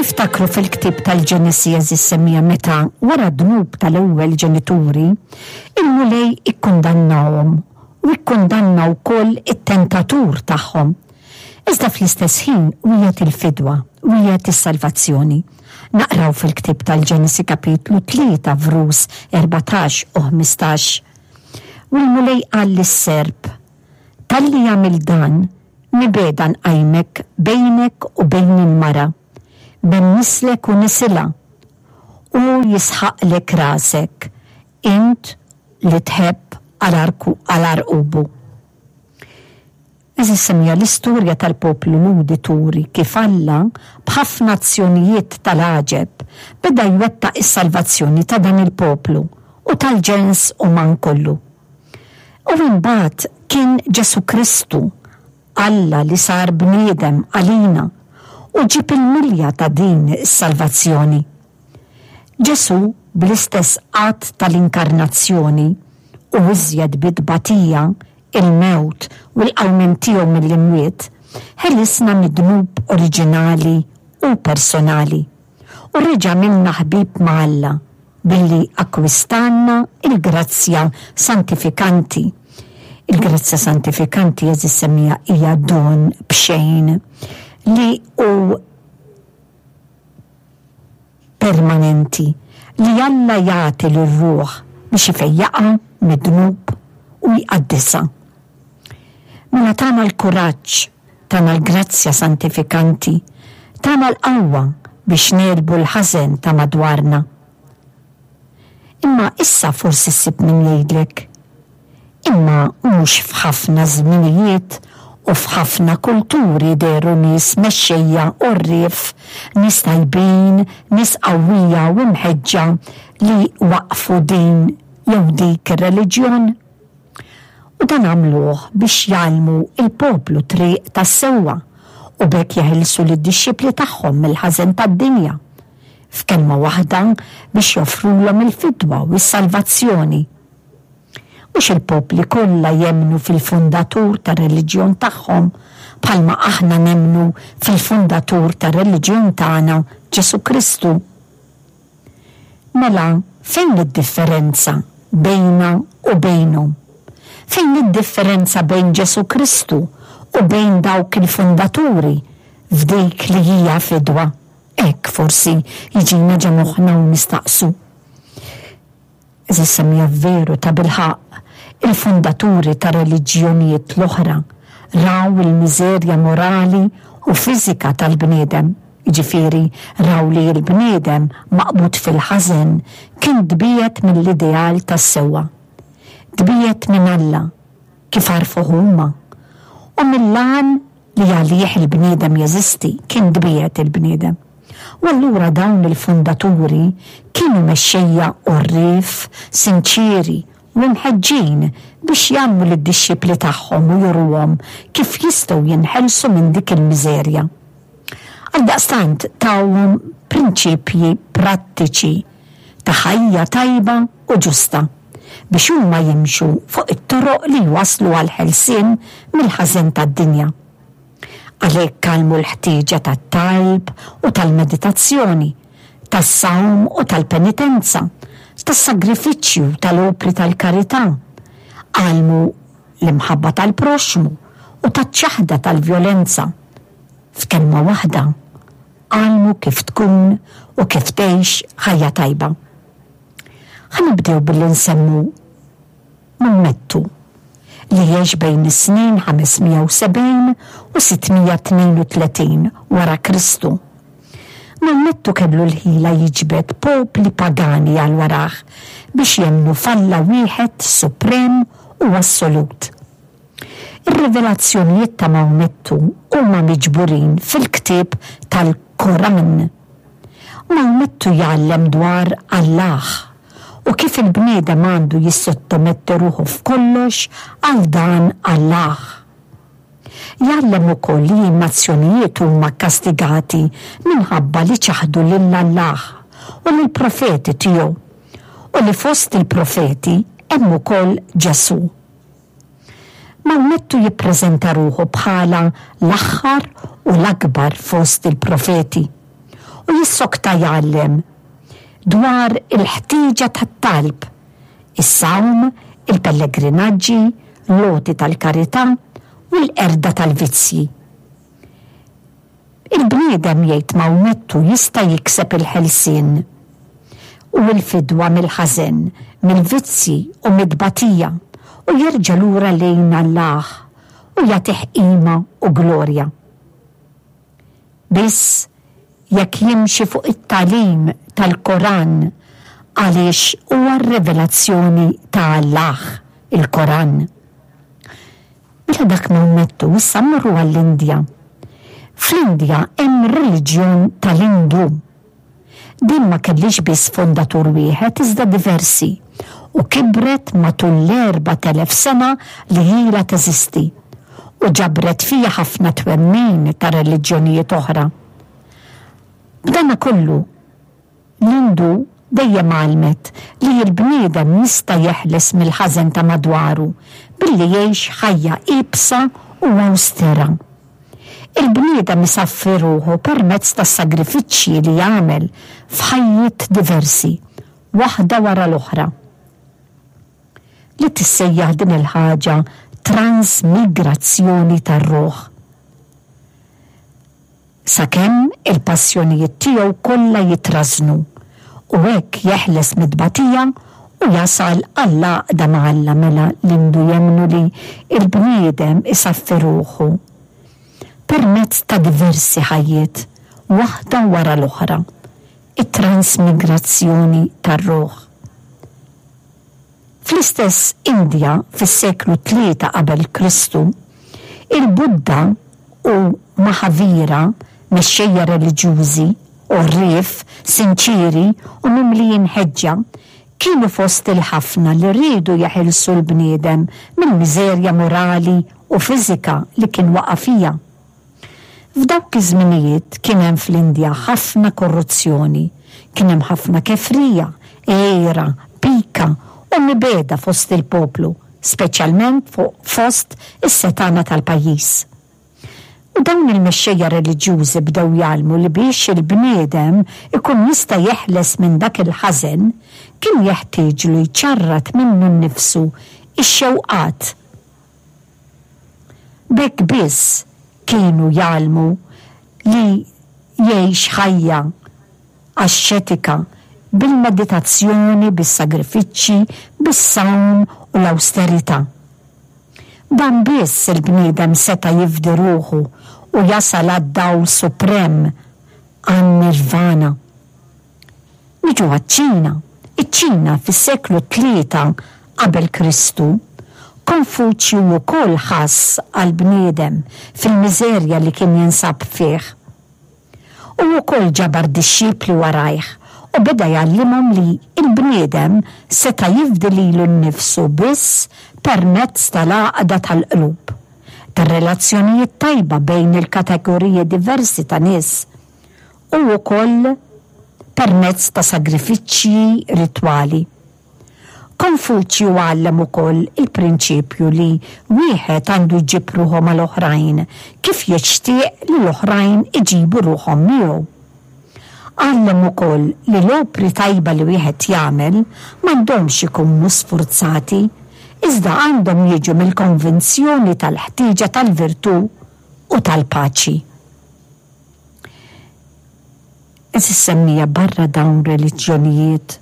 Niftakru fil-ktieb tal-Ġenesi għeżież semmiegħa meta, wara d-dnub tal-ewwel ġenituri, il-Mulej ikkundannahom u ikkundanna wkoll it-tentatur tagħhom. Iżda fl-istess ħin wiegħed il-fidwa, wiegħed is-salvazzjoni. Naqraw fil-ktieb tal-Ġenesi kapitlu 3 vrus 14 u 15. U l-Mulej qal lis-serp, Talli għamilt dan, Mibegħda nqajmek bejnek u bejn il-mara, bejn nislek u nisilha. Hu jisħaqlek rasek, int li tħebb għal għarqubu. Għeżież semmiegħa, l-istorja tal-poplu Lhudi turi kif Alla, b'ħafna azzjonijiet tal-għaġeb, beda jwettaq is-salvazzjoni ta' dan il-poplu u tal-ġens uman kollu. U imbagħad kien Ġesù Kristu, Alla li sar bniedem għalina u ġieb il-milja ta' din is-salvazzjoni. Ġesù bl-istess att tal-inkarnazzjoni u iżjed bit-tbatija, il-mewt u l-qawmien tiegħu mill-imwiet, ħelisna mid-dnub oriġinali u personali u reġa' għamilna ħbieb ma' Alla billi akkwistanna l-grazzja santifikanti. Il-grazzja santifikanti, għeżież semmiegħa, hija don b'xejn li hu permanenti li Alla jagħti lir-ruħ biex ifejjaqha mid-dnub u jqaddisha. Mela tana l-kuraġġ, tana l-grazzja santifikanti, tana l-qawwa biex negħlbu l-ħażen ta' madwarna. Imma issa forsi ssib min jgħidlek, Imma mhux f'ħafna żminijiet u f'ħafna kulturi dehru nies mexxejja għorrief, nies tajbin, nies qawwija u mħeġġa li waqqfu din jew dik ir-reliġjon? U dan għamluh biex jgħallmu l-poplu t-triq tas-sewwa u b'hekk jeħilsu lid-dixxipli tagħhom mill-ħażen tad-dinja. F'kelma waħda, biex joffrulhom il-fidwa u s-salvazzjoni. Mhux il-popli kollha jemmnu fil-fundatur tar-reliġjon tagħhom bħalma aħna nemmnu fil-fundatur tar-reliġjon tagħna, Ġesù Kristu. Mela fejn id-differenza bejna u bejnhom? Fejn id-differenza bejn Ġesù Kristu u bejn dawk il-fundaturi f'dik li hija fidwa? Hekk forsi jiġina ġa moħħna u nistaqsu. Għeżież semmiegħa veru tabilħaqq il-fundaturi ta' reliġjonijiet l-oħra raw il-miżerja morali u fiżika tal-bniedem, jiġifieri raw li l-bniedem maqbud fil-ħażen kien tbiegħed mill-ideal tas-sewwa. Tbiegħed minn Alla, kif għarfuh huma, u mill-għan li għalih il-bniedem jeżisti, kien tbiegħed il-bniedem. U allura dawn il-fundaturi kienu mexxejja għorrief, sinċieri u mħeġġin biex jgħallmu lid-dixxipli tagħhom u juruhom kif jistgħu jinħelsu minn dik il-miżerja. Għaldaqstant tawhom prinċipji prattiċi ta' ħajja tajba u ġusta biex huma jimxu fuq it-toroq li jwasslu għall-ħelsien mill-ħażen tad-dinja. Għalhekk għallmu l-ħtieġa tat-talb u tal-meditazzjoni, tas-sawm u tal-penitenza, tas-sagrifiċċju u tal-opri tal-karità. Għallmu l-imħabba tal-proxxmu u taċ-ċaħda tal-vjolenza. F'kelma waħda, għallmu kif tkun u kif tgħix ħajja tajba. Ħa nibdew billi nsemmu Maomettu, li għex bejn is-snin 570 u 632 wara Kristu. Maomettu kellu l-ħila jiġbed popli pagani għal warah biex jemmnu f'Alla wieħed suprem u assolut. Ir-rivelazzjonijiet ta' Maomettu huma miġburin fil-ktieb tal-Koran. Maomettu jgħallem dwar Allah u kif il-bniedem għandu jissottometti ruħu f'kollox għal dan Allah. Jgħallem ukoll li n-nazzjonijiet huma kkastigati minħabba li ċaħdu lil Allah u lill-profeti tiegħu, u li fost il-profeti hemm ukoll Ġesù. Mawmettu jippreżenta ruħu bħala l-aħħar u l-akbar fost il-profeti. U jissokta jgħallem dwar il-ħtieġa tat-talb, is-sawm, il-pellegrinaġġi, l-għoti tal-karità u l-qerda tal-vizzji. Il-bniedem, jgħid Mawmettu, jista' jikseb il-ħelsien u l-fidwa mill-ħażen, mill-vizzji u mit-tbatija u jerġa' lura lejn Allah u jagħtih qima u glorja. Biss jekk jimxi fuq it-tagħlim tal-Koran għaliex huwa r-rivelazzjoni ta' Allah, il-Koran. Mela dak Mawmettu, issa mmorru għall-Indja. Fl-Indja hemm ir-reliġjon tal-Indu. Din ma kellhiex biss fondatur wieħed iżda diversi u kibret matul l-4,000 sena li ilha teżisti u ġabret fiha ħafna twemmin ta' reliġjonijiet oħra. B'danakollu, L-Indu dejjem għallmet li l-bniedem jista' jeħles mill-ħażen ta' madwaru billi jgħix ħajja iebsa u awstera. Il-bniedem isaffi ruħu permezz tas-sagrifiċċji li jagħmel f'ħajjiet diversi, waħda wara l-oħra. Li tissejjaħ din il-ħaġa transmigrazzjoni tar-ruħ. Sakemm il-passjonijiet tiegħu kollha jitrażżnu, u hekk jeħles mit-tbatija u jasal għall-għaqda ma' Alla mela l-Indu jemmnu li l-bniedem isaffi ruħu permezz ta' diversi ħajjiet, waħda wara l-oħra, it-transmigrazzjoni tar-ruħ. Fl-istess Indja fis-seklu tlieta qabel Kristu, il-Buddha u Mahavira, mexxejja reliġjużi, għorrief, sinċieri u mimlijin ħeġġa, kienu fost il-ħafna li riedu jeħilsu l-bniedem mill-miżerja morali u fiżika li kien waqa' fiha. F'dawk iż-żminijiet kien hemm fl-Indja ħafna korruzzjoni, kien hemm ħafna kefrija, għira, pika u mibegħda fost il-poplu, speċjalment fost is-setgħana tal-pajjiż. U dawn il-mexxejja reliġjużi bdew jgħallmu li biex il-bniedem ikun jista' jeħles minn dak il-ħażen, kien jeħtieġlu jċarrat minnu nnifsu x-xewqat, B'hekk biss kienu jgħallmu li jgħix ħajja axxetika bil-meditazzjoni, bis-sagrifiċċji, bis-sawm u l-awsterità. Dan biss il-bniedem seta' jifdi ruħu u jasal għad-dawl suprem, għan-nirvana. Niġu għaċ-Ċina. Iċ-Ċina fis-seklu tlieta qabel Kristu, Konfuċju wkoll ħass għall-bniedem fil-miżerja li kien jinsab fih. Hu wkoll ġabar dixxipli warajh u beda jgħallimhom li l-bniedem seta' jifdi lilu nnifsu biss permezz tal-għaqda tal-qlub, tar-relazzjonijiet tajba bejn il-kategoriji diversi ta' nies, u wkoll permezz ta' sagrifiċċji ritwali. Konfuċju għallem ukoll il-prinċipju li wieħed għandu jġib ruħu mal-oħrajn kif jixtieq li l-oħrajn iġibu ruħhom miegħu. Għallem ukoll li l-opri tajba li wieħed jagħmel m'għandhomx ikunu sfurzati, iżda għandhom jiġu mill-konvinzjoni tal-ħtieġa tal-virtù u tal-paċi. Għeżież semmija barra dawn reliġjonijiet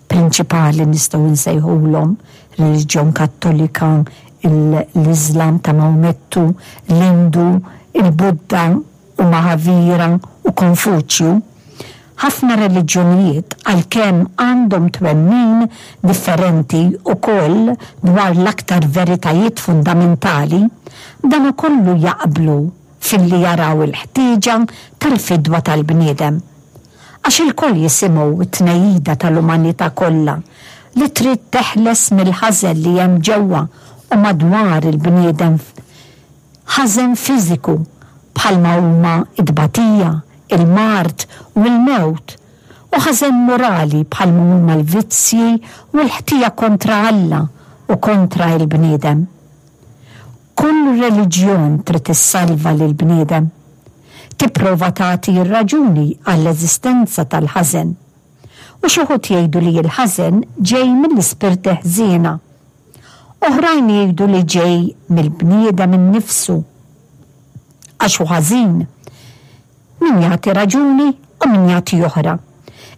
prinċipali nistgħu nsejħulhom, reliġjon Kattolika, l-Iżlam ta' Mawmettu, l-Indu, il-Buddha u Mahavira u Konfuċju. Ħafna reliġjonijiet għalkemm għandhom twemmin differenti wkoll dwar l-aktar veritajiet fundamentali, b'danakollu jaqblu filli jaraw il-ħtieġa tal-fidwa tal-bniedem. Għax ilkoll jisimgħu t-tnehida tal-umanità kollha li trid teħles mill-ħażen li hemm ġewwa u madwar il-bniedem, ħażen fiżiku bħalma huma t-tbatija, il-mard u l-mewt, u ħażen morali bħalma huma l-vizzji u l-ħtija kontra Alla u kontra il-bniedem. Kull reliġjon trid issalva lill-bniedem. Tipprova tagħti r-raġuni għall-eżistenza tal-ħażen. U xi wħud jgħidu li l-ħażen ġej mill-ispirti ħżiena. Oħrajn jgħidu li ġej mill-bniedem innifsu għax hu ħażin. Min jagħti raġuni u min jagħti oħra.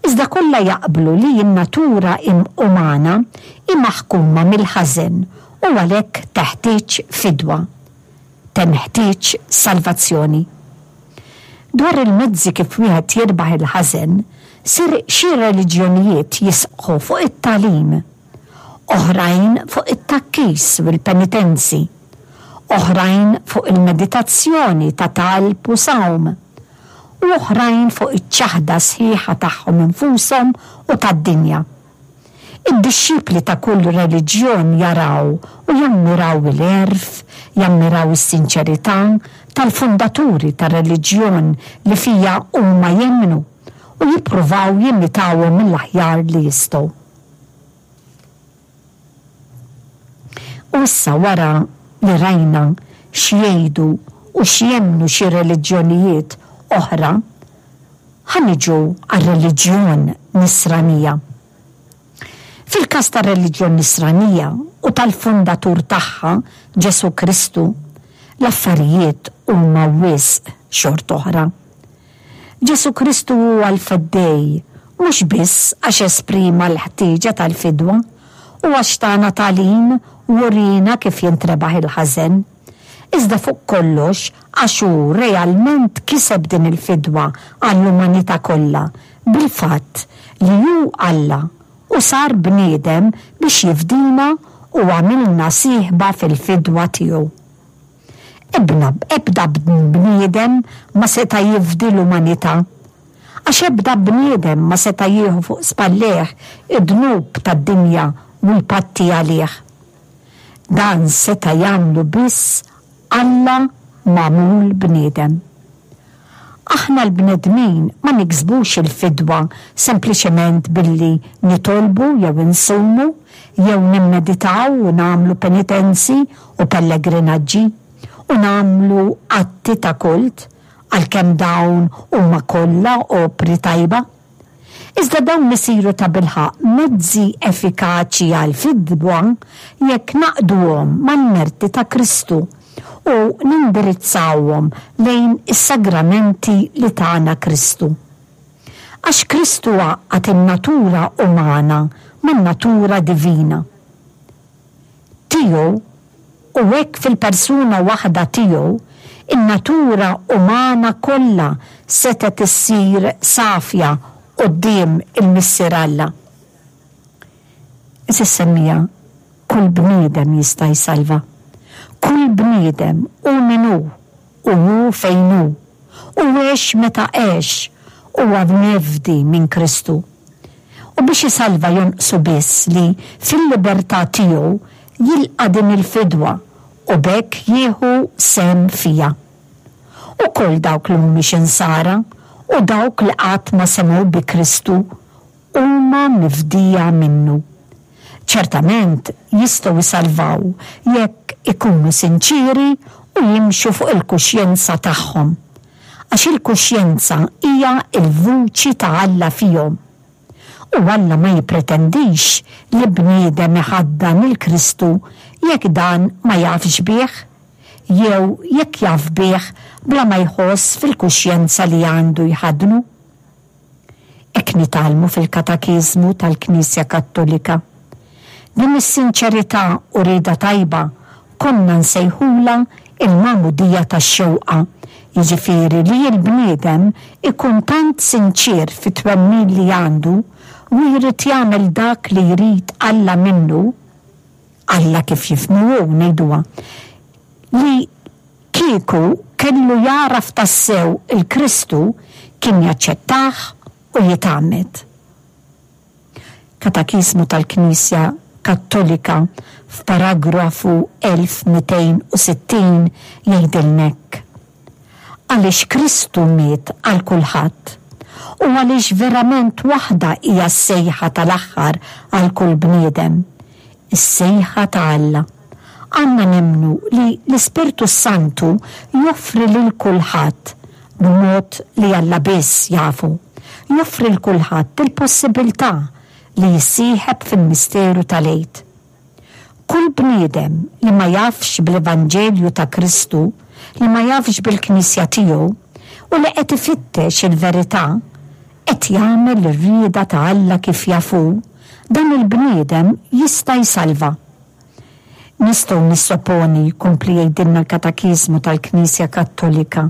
Iżda kollha jaqblu li n-natura umana hi maħkuma mill-ħażen u għalhekk teħtieġ fidwa. Tenħtieġ salvazzjoni. Dwar il-mezzi kif wieħed jirbaħ il-ħażen, sir xi reliġjonijiet jisqħu fuq it-tagħlim, oħrajn fuq it-tgħakkis u l-penitenzi, oħrajn fuq il-meditazzjoni ta' talb u sawm, u oħrajn fuq iċ-ċaħda sħiħa tagħhom infushom u tad-dinja. Id-dixxipli ta' kull reliġjon jaraw u jammiraw il-għerf, jammiraw is-sinċerità tal-fundaturi tar-reliġjon li fiha huma jemmnu u jippruvaw jimitawhom mill-aħjar li jistgħu. U issa wara li rajna x'jgħidu u x'jemmnu xi reliġjonijiet oħra, ħa niġu għar-reliġjon Nisranija. Fil-każ tar-reliġjon Nisranija u tal-fundatur tagħha, Ġesù Kristu, l-affarijiet huma wisq xort'oħra. Ġesù Kristu huwa l-Feddej mhux biss għax esprima l-ħtieġa tal-fidwa u għax tana tagħlim u uriena kif jintrebaħ il-ħażen, iżda fuq kollox għax hu realment kiseb din il-fidwa għall-umanità kollha bil-fatt li hu Alla u sar bniedem biex jifdina u għamilna sieħba fil-fidwa tiegħu. Ebna, ebda bniedem ma seta' jifdi l-umanità. Għax ebda bniedem ma seta' jieħu fuq spallejh id-dnub tad-dinja u jpatti għalih. Dan seta' jagħmlu biss Alla magħmul bniedem. Aħna l-bnedmin ma niksbux il-fidwa sempliċement billi nitolbu jew insumu jew nimmeditaw u nagħmlu penitenzi u pellegrinaġġi u nagħmlu atti ta' kult, għalkemm dawn huma kollha opri tajba. Iżda dawn isiru tabilħaqq mezzi effikaċi għall-fidwa jekk ngħaqqduhom mal-merti ta' Kristu u nindirizzawhom lejn is-sagramenti li tana Kristu. Għax Kristu għaqqad in-natura umana man-natura divina. Tiegħu, u hekk fil-persuna waħda tiegħu, in-natura umana kollha setgħet issir safja quddiem il-Missier Alla. Għeżież semmiegħa, kull bniedem jista' jsalva. Kull bniedem, hu min hu, u hu fejn hu, u għex meta għex, huwa mifdi minn Kristu. U biex isalva jonqsu biss li fil-libertà tiegħu jilqa' din il-fidwa u b'hekk jieħu sehem fiha. Ukoll dawk li mhumiex Insara u dawk li qatt ma semgħu bi Kristu huma mifdija minnu. Ċertament jistgħu jsalvaw jekk ikunu sinċieri u jimxu fuq il-kuxjenza tagħhom. Għax il-kuxjenza hija l-vuċi ta' Alla fihom. U Alla ma jippretendix li bniedem iħaddan 'il Kristu jekk dan ma jafx bih, jew jekk jaf bih bla ma jħoss fil-kuxjenza li għandu jħaddnu. Hekk nitgħallmu fil-Katakiżmu tal-Knisja Kattolika. Din is-sinċerità u rieda tajba konna nsejħulha il-magħmudija tax-xewqa, jiġifieri li l-bniedem ikun tant sinċier fit-twemmin li għandu u jrid jagħmel dak li jrid Alla minnu, Alla kif jifhmu hu ngħiduha, li Kieku kellu jagħraf tassew 'il Kristu kien jaċċettah u jitgħammed. Katakiżmu tal-Knisja Kattolika f'paragrafu 1260 jgħidilna hekk, Għaliex Kristu miet għal kulħadd, u għaliex verament waħda hija s-sejħa tal-aħħar għal kull bniedem, is-sejħa ta' Alla. Għandna nemmnu li l-Ispirtu s-Santu joffri lil kulħadd, b'mod li Alla biss jafu, joffri 'l kulħadd il-possibiltà li jissieħeb fil-misteru tal-Għid. Kull bniedem li ma jafx bl-Evanġelju ta' Kristu, li ma jafx bil-Knisja tiegħu, u li qed ifittex il-verità, qed jagħmel ir-rieda ta' Alla kif jaf hu, dan il-bniedem jista' jsalva. Nistgħu nissoponi, jkompli jgħidilna l-Katakiżmu tal-Knisja Kattolika,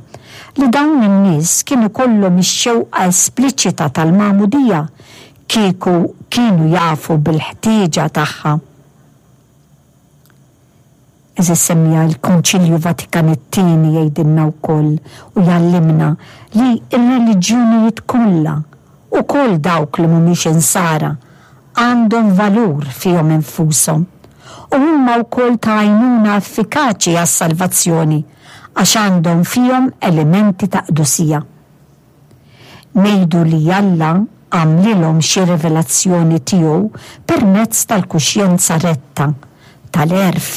li dawn in-nies kien ikollhom ix-xewqa espliċita tal-magħmudija kieku kienu jafu bil-ħtieġa tagħha. Għeżież semmiegħa, il-Konċilju Vatikan it-Tieni jgħidilna wkoll u jgħallimna li r-reliġjonijiet kollha, ukoll dawk li mhumiex Insara, għandhom valur fihom infushom u huma wkoll ta' għajnuna effikaċi għas-salvazzjoni għax għandhom fihom elementi ta' qdusija. Ngħidu li Alla għamlilhom xi rivelazzjoni tiegħu permezz tal-kuxjenza retta, tal-għerf,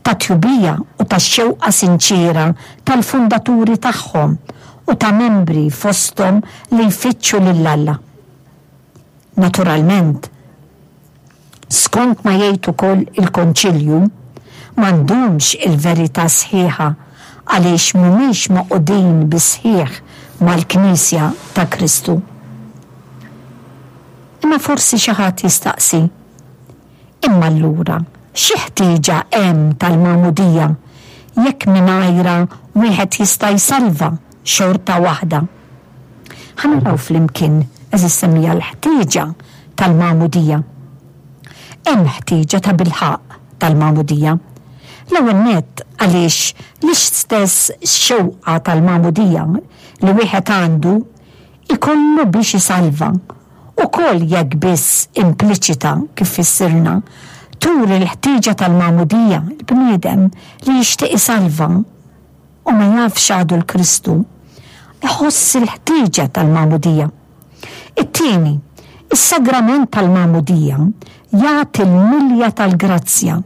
tat-tjubija u tax-xewqa sinċiera tal-fundaturi tagħhom u ta' membri fosthom li jfittxu lil Alla. Naturalment, skont ma jgħid ukoll il-Konċilju, m'għandhomx il-verità sħiħa għaliex mhumiex magħqudin bis-sħiħ mal-Knisja ta' Kristu. Imma forsi xi ħadd jistaqsi, Imma allura xi ħtieġa hemm tal-magħmudija jekk mingħajrha wieħed jista' jsalva xorta waħda? Ħa naraw flimkien, għeżież semmiegħa, l-ħtieġa tal-magħmudija. Hemm ħtieġa tabilħaqq tal-magħmudija. L-ewwel nett għaliex l-istess xewqa tal-magħmudija li wieħed għandu ikollu biex isalva, ukoll jekk biss impliċita kif fissirna, turi l-ħtieġa tal-magħmudija, il-bniedem li jixtieq isalva u ma jafx għadu l-Kristu, iħoss il-ħtieġa tal-magħmudija. It-tieni, is-sagrament tal-magħmudija jagħti l-milja tal-grazzja,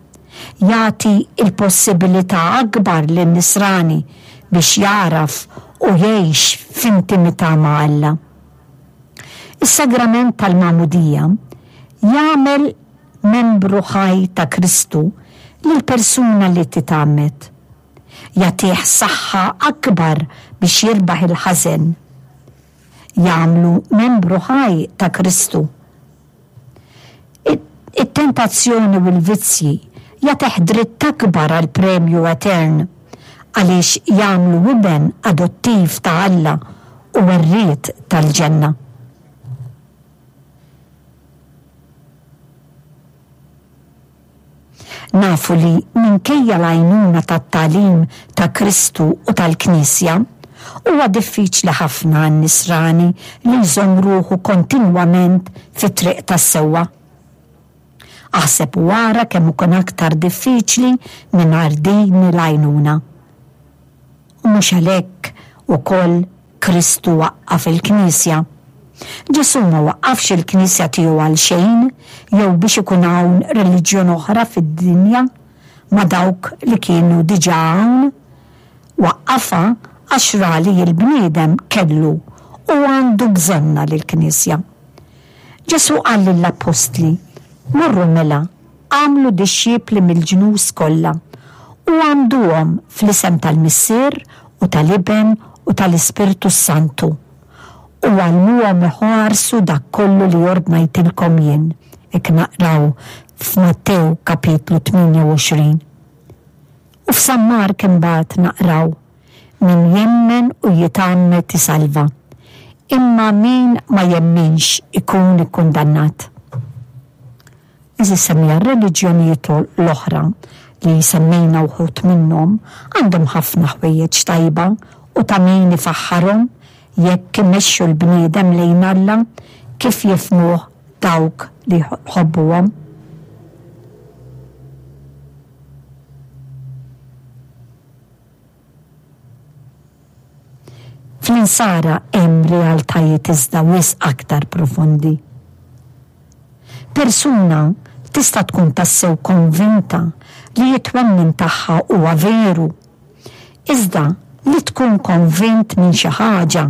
jagħti l-possibilità akbar lin-nisrani biex jagħraf u jgħix f'intimità ma' Alla. Is-sagrament tal-magħmudija jagħmel membru ħaj ta' Kristu lill-persuna li titgħammed. Jagħtih saħħa akbar biex jirbaħ il-ħażen. Jagħmlu membru ħaj ta' Kristu. It-tentazzjoni u l-vizzji jagħtih dritt akbar għall-premju etern għaliex jagħmlu iben adottiv ta' Alla u werriet tal-ġenna. Nafu li minkejja l-għajnuna tat-tagħlim ta' Kristu u tal-Knisja, huwa diffiċli ħafna għan-Nisrani li jżomm ruħu kontinwament fit-triq tas-sewwa. Aħseb u ara kemm ikun aktar diffiċli mingħajr din il-għajnuna. U mhux għalhekk ukoll Kristu waqqaf il-Knisja. Ġesù ma waqqafx il-Knisja tiegħu għalxejn jew biex ikun hawn reliġjon oħra fid-dinja ma' dawk li kienu diġà hawn. Waqqafha għax ra li l-bniedem kellu u għandu bżonnha lill-Knisja. Ġesù qal lill-appostli, Morru mela, agħmlu dixxipli mill-ġnus kollha, u għammduhom fl-isem tal-Missier u tal-Iben u tal-Ispirtu s-Santu, u għallmuhom iħarsu dak kollu li ordnajtilkom jien, hekk naqraw f'Mattew kapitlu 28. U f'San Mark imbagħad naqraw, Min jemmen u jitgħammed isalva, imma min ma jemminx ikun ikkundannat. Għeżież semmiegħa, r-reliġjonijiet l-oħra li semmejna wħud minnhom għandhom ħafna ħwejjeġ tajba u ta' min ifaħħarhom jekk imexxu l-bniedem lejn Alla kif jifhmuh dawk li jħobbuhom. Fl-Insara hemm realtajiet iżda wisq aktar profondi. Persuna tista' tkun tassew konvinta li t-twemmin tagħha huwa veru. Iżda Li tkun konvint minn xi ħaġa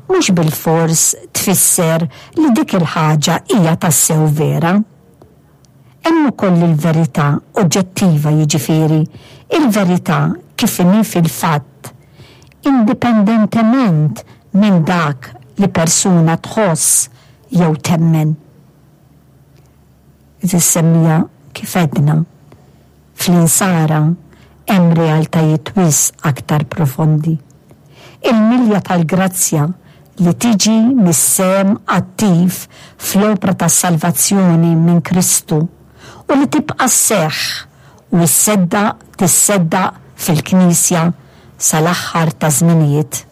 mhux bilfors tfisser li dik il-ħaġa hija tassew vera. Hemm ukoll il-verità oġġettiva jiġifieri, il-verità kif inhi fil-fatt, indipendentement minn dak li persuna tħoss jew temmen. Tissemmija kif għedna. Fl-Insara hemm realtajiet wisq aktar profondi. Il-milja tal-grazzja li tiġi mis-sehem attiv fl-opra tas-salvazzjoni minn Kristu u li tibqa' sseħħ u sseddaq tisseddaq fil-Knisja sal-aħħar taż-żminijiet.